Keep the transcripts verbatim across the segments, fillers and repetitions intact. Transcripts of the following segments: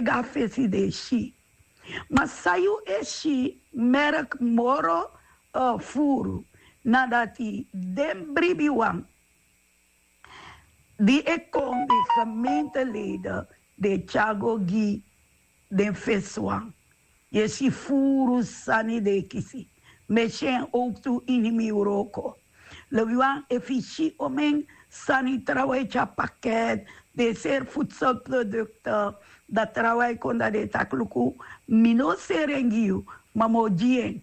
go na fesi den e si. Ma san yu e si merk moro furu na dati den bribiwan di e kon den gemeenteleden den e tyari go gi den fesiwan. Yu e si furu sani den e kisi. Mi e si en owktu ini mi wroko. Lobiwan, efu yu si omen sani trawan e tyari paket, den seri futselprodukte, dan trawan e kon dan den e taki luku, mi no o seri en gi yu, ma mi o gi en.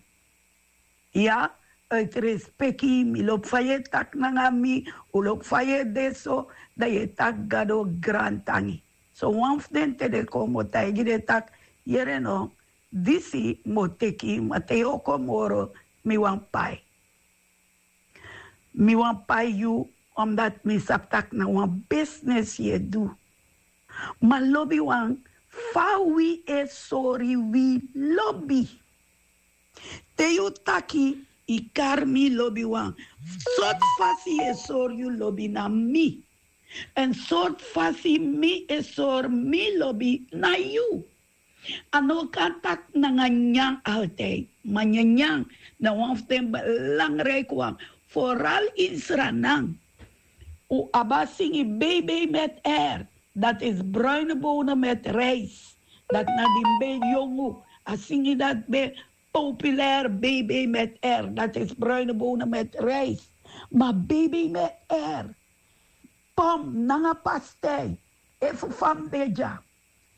Ya, uit respeki mi lobi fa yu e taki nanga mi, un lobi fa yu e de so, dan yu e taki gado grantangi. So wan fu den te den kon mi o taigi den taki, yere no, disi mi o teki, ma te yu o kon moro, mi wani pai. Mi wani pai yu, omdat mi sabi taki na wan bisnis yu e du. Ma lobiwan, fa wi e sori wi lobi? Te yu taki yu kari mi lobiwan, sortu fasi yu e sori yu lobi na mi. Èn sortu fasi mi e sori mi lobi na yu. A no kan taki nanga nyanyan altijd, ma nyanyan na wan fu den belangrijk wan, vooral in Sranan. Un abi a singi bebe met air, dat is bruine bonen met rijst. Dat na di ben yongu, a singi dat ben populair, bebe met air, dat is bruine bonen met rijst. Ma bebe met air, pom nanga pastei, efu fa mi de dya.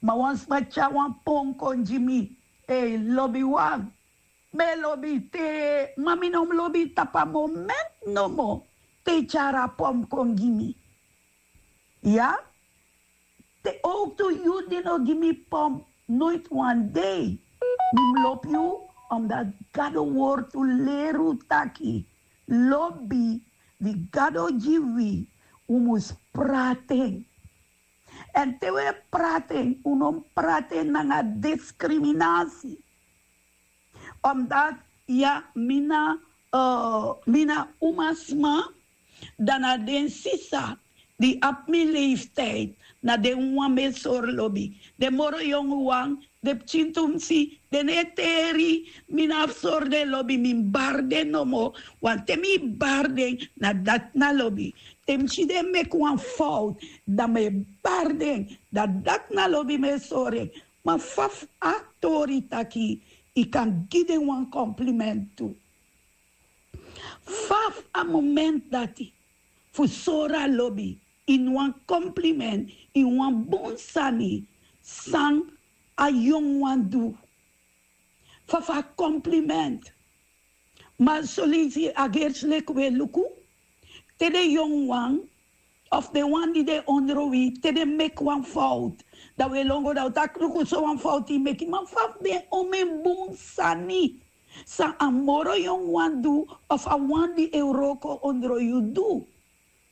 Ma wan sma tyari wan pom kon gi mi, ei lobiwan, mi e lobi te, ma mi no mus lobi tapu a moment nomo te yu tyari a pom kon gi mi. Ya, te owktu yu di no gi mi pom noiti wan dei, mi mus lobi yu. Omdat Gado wortu leri un taki lobi di Gado gi wi, un mus prati en. Èn te un e prati en, un no mus prati en nanga diskriminasi. Omdat ya, mi na, mi na umasma, dan na den sisa di abi mi leeftijd, na den wan mi e sori lobi. Den moro yongu wan, den pikin tumsi, den no e teri, mi no abi sori den lobi, mi mus bari den nomo. Want te mi bari den, na dati na lobi. Te mi si den meki wan fout, dan mi e bari den, dan dati na lobi mi e sori en. Ma fa fu a tori taki yu kan gi den wan compliment tu? Fa fu a moment dati fu sori a lobi ini wan compliment, ini wan bun sani san a yongu wan du? Fa fu a compliment? Ma soleisi a gersi leki un e luku, te den yongu wan of den wan di de ondro wi, te den meki wan fout, dan un e lon go, dan un taki luku, so wan fout yu meki. Ma fa fu den omen bun sani san a moro yongu wan du, of a wan di e wroko ondro yu du?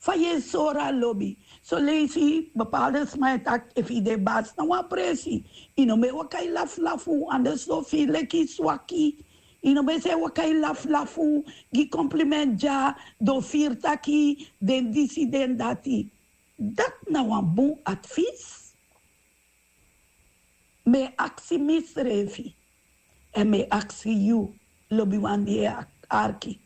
Fa yu e sori a lobi? Soleisi bepaalde sma e taki, efu yu de basi na wan presi, yu no mu e waka e lafulafu, anders den o firi leki swaki. Yu no mu e sa e waka e lafulafu, gi compliment dya, den o firi taki den disi, den dati. Dati na wan bun advis. Mi e aksi misrefi, èn mi e aksi yu, lobiwan di e arki.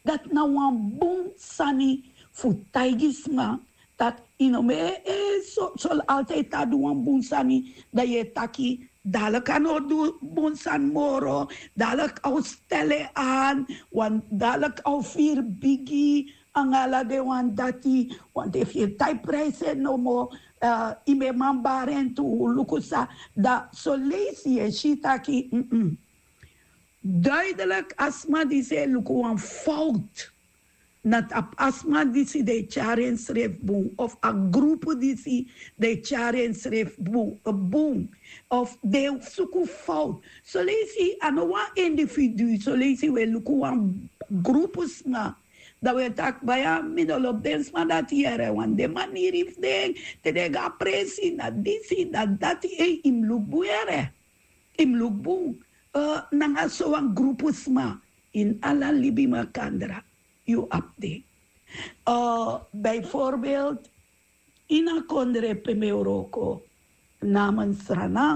Dati na wan bun sani fu taigi sma, taki yu no mu e, e so, so altijd a du wan bun sani, dan yu e taki, dadelijk a no o du bun sani moro, dadelijk a o stel en aan, want dadelijk a o firi bigi, anga ala den wan dati. Want efu yu e tai prijsi en nomo, yu mu e man bari en tu, luku san. Dan soleisi yu e si taki, duidelijk a sma disi e luku wan fout na tapu a sma disi di e tyari ensrefi bun, of a grupu disi di e tyari ensrefi bun, of di e suku fout. Soleisi a no wan individu, soleisi un e luku wan grupu sma, dan un e taki, baya, mi no lobi den sma dati yere, want den maniri fu den, te den go na presi, na disi, na dati. Ei, yu mu luku bun yere, yu mu luku bun. Nanga sowan grupu sma ini ala libi makandra yu abi den. Bijvoorbeeld ini a kondre pe mi e wroko, na Sranan.